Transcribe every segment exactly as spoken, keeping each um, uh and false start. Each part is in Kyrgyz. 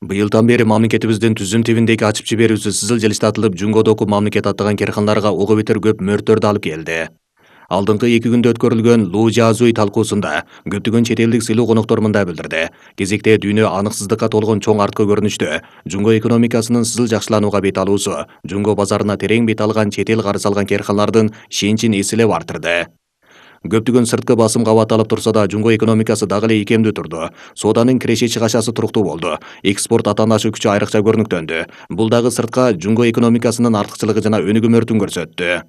Быйылдан бери мамлекетибиздин түзүм тибиндеги ачып жиберүүсү сызыл жылыштатылып, Жунгодогу мамлекет аттаган керканаларга ого бетер көп мөрттөрдү алып келди. Алдыңкы эки күндө өткөрүлгөн Луу-Жазуй талкуусунда көптөгөн чет элдик сыйлуу коноктор мындай билдирди. Кезекте дүйнө аныксыздыкка толгон чоң арткы көрүнүштө Жунго экономикасынын сызыл жакшыланууга бет алуусу, Жунго базарына терең бет алган чет эл карыз алган керканалардын ишеничин эселеп артырды. Көптөгөн сырткы басым кабатталып турса да, Жунго экономикасы дагы эле ийкемдүү турду. Сооданын киреше чыгашасы туруктуу болду. Экспорт атаандашы күчү айрыкча көрүнүктөндү. Бул дагы сыртка Жунго экономикасынын артыкчылыгы жана өнүгүмөртүн көрсөттү.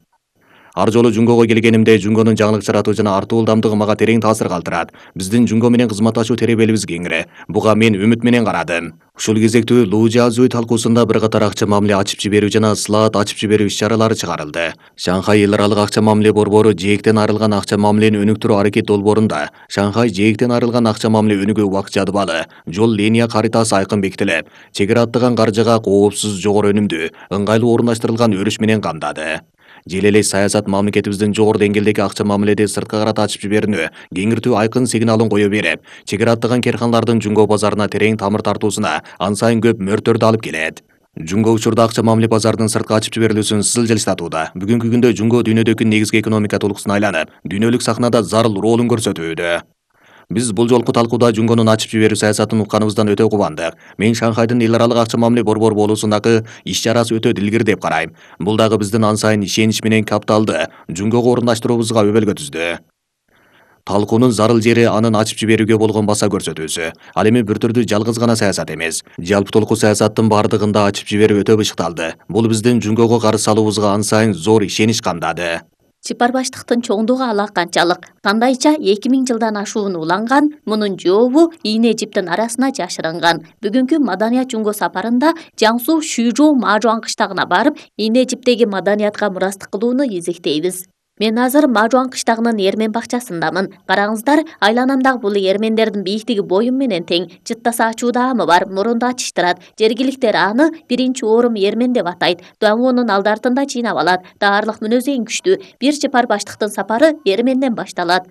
Ар жолу Жунгого келгенимде Жунгонун жаңылык жаратуу жана артуу ылдамдыгы мага терең таасир калтырат. Биздин Жунго менен кызматташуу теребелибиз кеңири. Буга мен үмүт менен карадым. Ушул кезектүү Луу-Жазуй талкуусунда бир катар акча мамиле ачып жиберүү жана слаат ачып жиберүү иш-чаралары чыгарылды. Шанхай эл аралык акча мамиле борбору жээктен айрылган акча мамилени өнүктүрүү аракет долбоорунда Шанхай жээктен айрылган акча мамиле өнүгүү убакыт жадыбалы, жол линия каритасы айкын бекитилип, чек ара аттаган каржыга коопсуз, жогору өнүмдүү, ыңгайлуу орундаштырылган өрүш менен камдады. Жел эле саясат мамлекетибиздин жогору деңгээлдеги акча мамиледи сырткы карата ачып жиберүүнү кеңиртүү айкын сигналын кое берип, чек ара аттаган керканалардын Жунго базарына терең тамыр тартуусуна ан сайын көп мөрттөрдү алып келет. Жунго учурда акча мамиле базарынын сырткы ачып жиберилүүсүн сызыл жылыштатууда. Бүгүнкү күндө Жунго дүйнөдөгү негизги экономика толкусуна айланып, дүйнөлүк сахнада зарыл ролун көрсөтүүдө. Биз бул жолку талкууда Жунгонун ачып жиберүү саясатын укканыбыздан өтө кубандык. Мен Шанхайдын эл аралык акча мамиле борбору болуусундагы иш-чарасы өтө дилгир деп карайм. Бул дагы биздин ан сайын ишенич менен капиталды Жунгого орундаштыруубузга өбөлгө түздү. Талкуунун зарыл жери анын ачып жиберүүгө болгон баса көрсөтүүсү. Ал эми бир түрдүү жалгыз гана саясат эмес. Жалпы толку саясаттын бардыгында ачып жиберүү өтө бышыкталды. Бул биздин Жунгого карыз салуубузга ан сайын зор ишенич камдады. Чыпар баштыктын чоңдугу ала канчалык, кандайча эки миң жылдан ашууну уланган, мунун жообу ийне жиптин арасына жашырынган. Бүгүнкү Маданият Жунго сапарында Жаңсу Шүйжоу Мажуан кыштагына барып, ийне жиптеги маданиятка мурастык кылууну изектейбиз. Мен азыр Мажуан кыштагынын эрмен бакчасындамын. Караңыздар, айланамдагы бул эрмендердин бийиктиги боюм менен тең. Жыттаса ачуу даамы бар, мурунду ачыштырат. Жергиликтер аны биринчи орум эрмен деп атайт. Даңоонун алды артында жыйнап алат. Даарылык мүнөзү эң күчтүү. Бир жыпар баштыктын сапары эрменден башталат.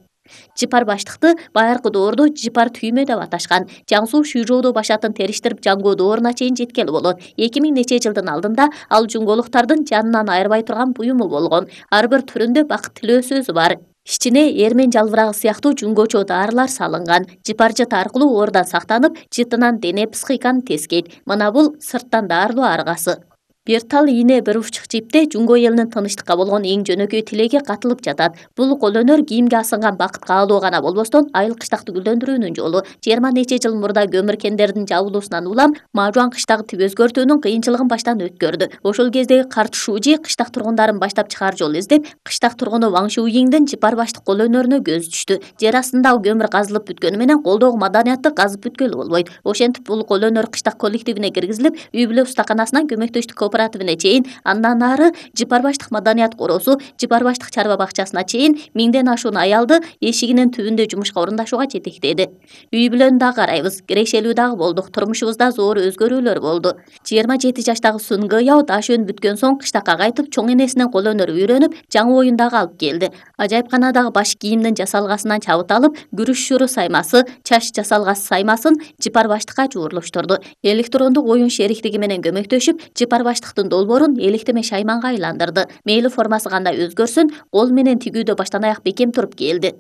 Жыпар баштыкты байыркы доордо жыпар түймө деп аташкан. Жаңсу Шүйжоодо башатын териштирип Жаңго дооруна чейин жеткели болот. эки миң нече жылдын алдында ал жунголуктардын жанынан айырбай турган буюму болгон. Ар бир түрүндө бакыт тилөө сөзү бар. Ичине эрмен жалбырагы сыяктуу жунгочо даарылар салынган. Жыпар жыт аркылуу оордан сактанып, жытынан дене психиканы тескейт. Мына бул сырттан даарылоо аргасы. Бир тал ийне бир уччук жипте Жунго элинин тынчтыкка болгон эң жөнөкөй тилеги катылып жатат. Бул кол өнөр кийимге асынган бакыт каалоо гана болбостон, айыл кыштакты гүлдөндүрүүнүн жолу. жыйырма нече жыл мурда көмүр кендердин жабылуусунан улам Мажуан кыштагы тип өзгөртүүнүн кыйынчылыгын баштан өткөрдү. Ошол кездеги карт Шужи кыштак тургундарын баштап чыгаар жол издеп, кыштак тургуну Ваң Шуйиңдин жыпар баштык кол өнөрүнө көзү түштү. Жер астындагы көмүр казылып бүткөнү менен колдогу маданиятты казып бүткөлү болбойт. Ошентип бул кол өнөр кыштак коллективине киргизилип, үй бүлө устаканасынан көмөктөштүк кооперативине чейин, андан ары жыпар баштык маданият короосу, жыпар баштык чарба бакчасына чейин миңден ашуун аялды эшигинин түбүндө жумушка орундашууга жетектеди. Үй бүлөнү дагы карайбыз, кирешелүү дагы болдук, турмушубузда зор өзгөрүүлөр болду. жыйырма жети жаштагы Сун Гыяо даш өнүп бүткөн соң кыштакка кайтып, чоң энесинен кол өнөрү үйрөнүп, жаңы оюн дагы алып келди. Ажайыпканадагы баш кийимдин жасалгасынан чабыт алып, күрүш шуру саймасы, чач жасалгасы саймасын жыпар баштыкка жуурлуштурду. Электрондук оюн шериктиги менен көмөктөшүп, жыпар баштыктын долбоорун электеме шайманга айландырды. Мейли формасы кандай өзгөрсүн, кол менен тигүүдө баштан аяк бекем туруп келди.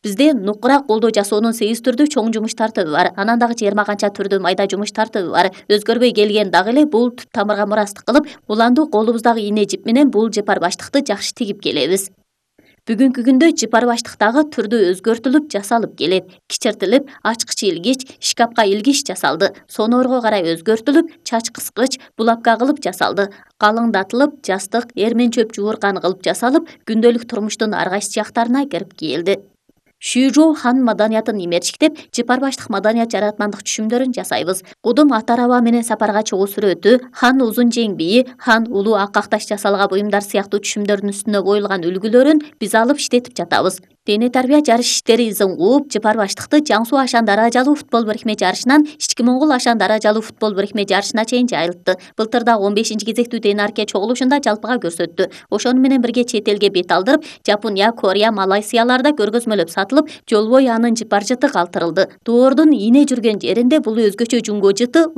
Бизде нукура колдо жасоонун сегиз түрдүү чоң жумуш тартыбы бар. Анан дагы жыйырма канча түрдүү майда жумуш тартыбы бар. Өзгөрбөй келген дагы эле бул түп тамырга мурастык кылып, уланду колубуздагы ийне жип менен бул жыпар баштыкты жакшы тигип келебиз. Бүгүнкү күндө жыпар баштыктагы түрдүү өзгөртүлүп жасалып келет. Кичиртилип, ачкыч илгич, шкафка илгич жасалды. Сонорго карай өзгөртүлүп, чач кыскыч, булапка кылып жасалды. Калыңдатылып, жастык, эрмен чөп жууркан кылып жасалып, күндөлүк турмуштун ар кайсы жактарына кирип келди. Шүйжоу хан маданиятын имерчиктеп, жыпар баштык маданият жаратмандык түшүмдөрүн жасайбыз. Кудум ат араба менен сапарга чыгуу сүрөтү, хан узун жең бийи, хан улуу ак акташ жасалга буюмдар сыяктуу түшүмдөрдүн үстүнө коюлган үлгүлөрүн биз алып иштетип жатабыз. Дене тарбия жарыш иштери изин кууп, жыпар баштыкты Жан Суу Ашан даражалуу футбол бирикме жарышынан Ички Моңгол Ашан даражалуу футбол бирикме жарышына чейин жайылтты. Былтыр да он бешинчи кезектүү Денарке чогулушунда жалпыга көрсөттү. Ошону менен бирге чет элге бет алдырып, Жапония, Корея, Малайзияларда көргөзмөлөп сатылып, жол бою анын жыпар жыты калтырылды. Доордун ийне жүргөн жеринде бул өзгөчө жуңго жыты